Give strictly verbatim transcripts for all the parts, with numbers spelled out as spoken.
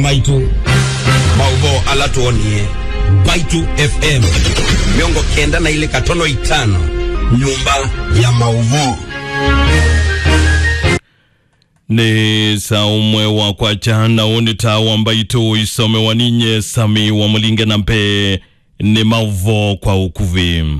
Maitũ. Maũvoo ala twonie. Mbaitu F M. Mĩongo kenda na ilĩ katono itano. Nyũmba ya maũvoo. Nĩ saa ũmwe wa kwakya, na ũũ nĩ taa wa Mbaitũ isomewa ninye Sami wa Mũlinge, na mbee nĩ maũvoo kwa ũkuvĩ.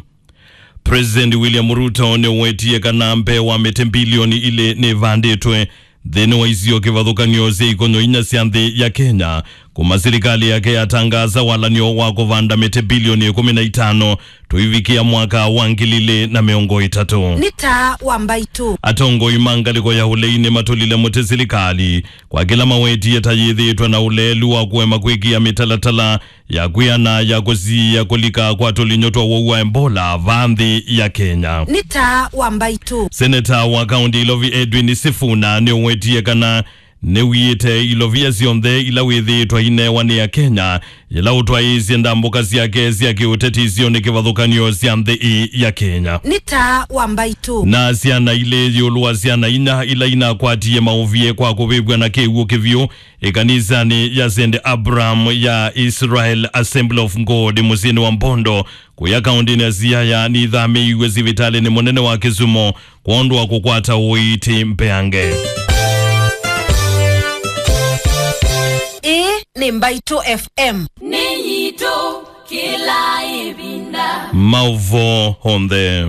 President William Ruto nĩwetie kana mbee wa mĩtĩ mbilioni ilĩ nĩvandĩtwe nthĩnĩ wa isio kĩvathũkany'o sya ikonyo inya sya nthĩ ya Kenya, kuma silikalĩ yake yatangaasa walan'yo wa kũvanda mĩtĩ mbilioni ĩkũmi na itano tũivikĩa mwaka wa ngili ilĩ na mĩongo ĩtatũ. Nĩ taa wa Mbaitũ. Atongoi ma ngalĩko ya ũlei nĩmatũlile mũtĩ silikalĩ kwa kĩla mawetie ta yĩthĩĩtwe na ũleelu wa kũema kwĩkĩa mĩtalatala ya kwĩana ya kũsiĩĩa kũlika kwa tũlinyũ twa ũwau wa Ebola vaa nthĩ ya Kenya. Nĩ taa wa Mbaitũ. Seneta wa kaũntĩ Ilovi Edwin Sifuna nĩũwetie kana nĩwiĩte ilovia syonthe ila wĩthĩĩtwe ainewa nĩ Akenya, yĩla ũtwaĩĩsye ndambũka syake sya kĩũteti isionĩ kĩvathũkany'o sya nthĩ ĩĩ ya Kenya. Nĩ taa wa Mbaitũ. Na syana ilĩ ĩũlũ wa syana inya ila inakwatie maũvie kwa kũvĩvw'a na kĩw'ũ kĩvyũ ĩkanisanĩ ya Saint Abraham ya Israel Assembly of God mũsyĩnĩ wa Mbondo, kũya kaũntĩnĩ ya Siaya, nĩithamĩĩiw'e sivitalĩnĩ mũnene wa Kisumu kwondũ wa kũkwata ũiiti mbeange. Ĩĩ nĩ Mbaitũ F M. Nĩ yitũ kĩla ĩvinda. Maũvoo onthe.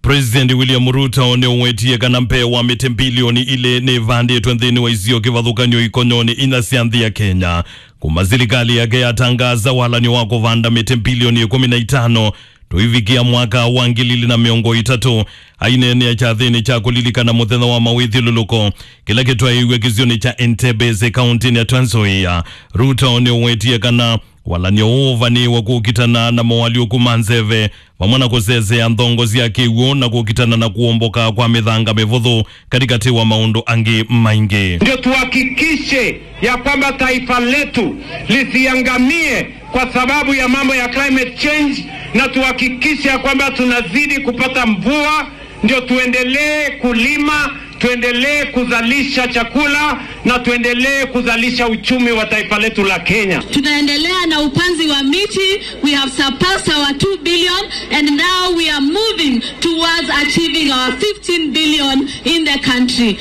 President William Ruto nĩũwetie kana mbee wa mĩtĩ mbilioni ilĩ nĩvandĩtwe nthĩnĩ wa isio kĩvathũkany'o ikonyonĩ inya sya nthĩ ya Kenya, kuma silikalĩ yake yatangaasa walan'yo wa kũvanda mĩtĩ mbilioni ĩkũmi na itano tũivikĩa mwaka wa ngili ilĩ na mĩongo ĩtatũ. Aineenea kyathĩnĩ kya kũlilikana mũthenya wa mawĩthyũlũlũko kĩla kĩtwaĩiw'e kĩsionĩ kya Entebbe kaũntĩnĩ ya Trans Nzoia, Ruto nĩũwetie kana walan'yo ũũ ũvanĩĩwe kũkitana na moalyũku ma nzeve, vamwe na kũsesea nthongo sya kĩw'ũ na kũkitana na kũomboka kwa mĩthanga mĩvũthũ, katĩkatĩ wa maũndũ angĩ maingĩ. Ndio tuhakikishe ya kwamba taifa letu lisiangamie kwa sababu ya mambo ya climate change, na tuhakikishe ya kwamba tunazidi kupata mvua, ndio tuendelee kulima, tuendelee kuzalisha chakula na tuendelee kuzalisha uchumi wa taifa letu la Kenya. Tunaendelea na upanzi wa miti. We have surpassed our two billion and now we are moving towards achieving our fifteen billion in the country.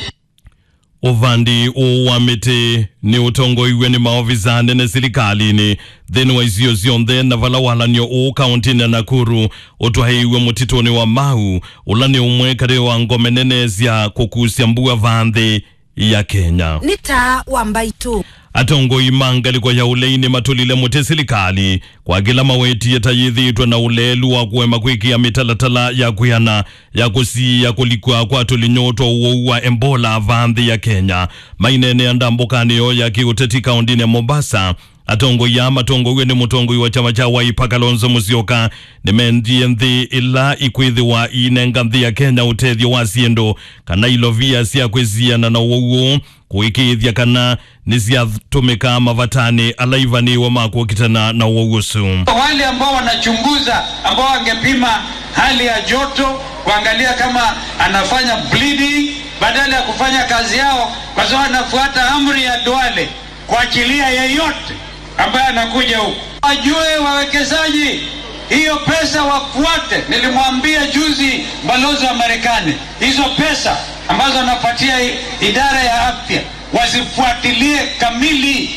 Ũvandi ũũ wa mĩtĩ nĩ ũtongoiw'e nĩ maovisa anene silikalĩnĩ nthĩnĩ wa isio syonthe, na vala walan'yo ũũ kaũntĩnĩ ya Nakuru ũtwaĩiw'e mũtitũnĩ wa Mau, ũla nĩ ũmwe katĩ wa ngome nene sya kũkusya mbua vaa nthĩ ya Kenya. Nĩ taa wa Mbaitũ. Atongoi ma ngalĩko ya ũlei nĩmatũlile mũtĩ silikalĩ kwa kĩla mawetie ta yĩthĩĩtwe na ũleelu wa kũema kwĩkĩa mĩtalatala ya kwĩana ya kũsiĩĩa kũlikw'a kwa tũlinyũ twa ũwau wa Ebola vaa nthĩ ya Kenya. Maineenea ndambũkanĩ yoo ya kĩũteti kaũntĩnĩ ya Mombasa, atongoi aa matongoew'e nĩ mũtongoi wa kyama kya Wiper Kalonzo Musyoka nĩmendie nthĩ ila ikwĩthĩwa iinenga nthĩ ya Kenya ũtethyo wa syĩndũ kana ilovia sya kwĩsiana na ũwau ũũ kũĩkĩĩthya kana nĩsyatũmĩkaa mavatanĩ ala ivanĩĩwe ma kũkitana na ũwau ũsu. Wale ambao wanachunguza, ambao wangepima hali ya joto, kuangalia kama anafanya bleeding, badala ya kufanya kazi yao, kwa sababu anafuata amri ya Duale kuachilia yeyote ambaye anakuja huku. Wajue wawekezaji, hiyo pesa wafuate. Nilimwambia juzi balozi wa Marekani, hizo pesa ambazo anapatia i-, idara ya afya, wazifuatilie kamili.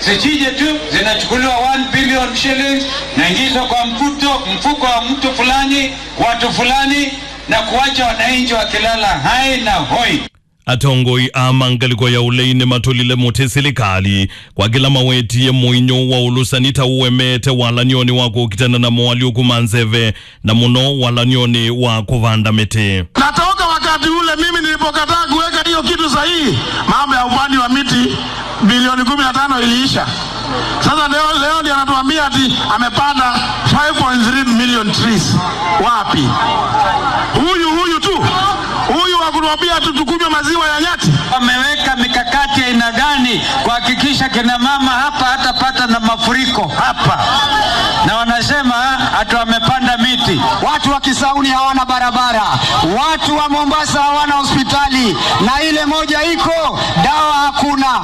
Zisije tu zinachukuliwa one billion shillings, naingizwa kwa mfuto, mfuko wa mtu fulani, watu fulani, na kuacha wananchi wakilala hai na hoi. Atongoi aa ma ngalĩko ya ũlei nĩmatũlile mũtĩ silikalĩ kwa kĩla mawetie mũinyũ wa ũlũsani ta ũemete walan'yonĩ wa kũkitana na moalyũku ma nzeve, na mũno walan'yonĩ wa kũvanda mĩtĩ. Na toka wakati ule mimi nilipokataa kuweka hiyo kitu sahihi, mambo ya upanzi wa miti bilioni kumi na tano iliisha. Sasa leo, leo ndio anatuambia ati amepanda five point three million trees. Wapi? Huyu, huyu tu. Huyu wa kutuambia tu tukunywe maziwa ya nyati. Wameweka mikakati ya aina gani kuhakikisha kina mama hapa hatapata na mafuriko hapa? Na wanasema ati wamepanda miti. Watu wa Kisauni hawana barabara. Watu wa Mombasa hawana hospitali. Na ile moja iko, dawa hakuna.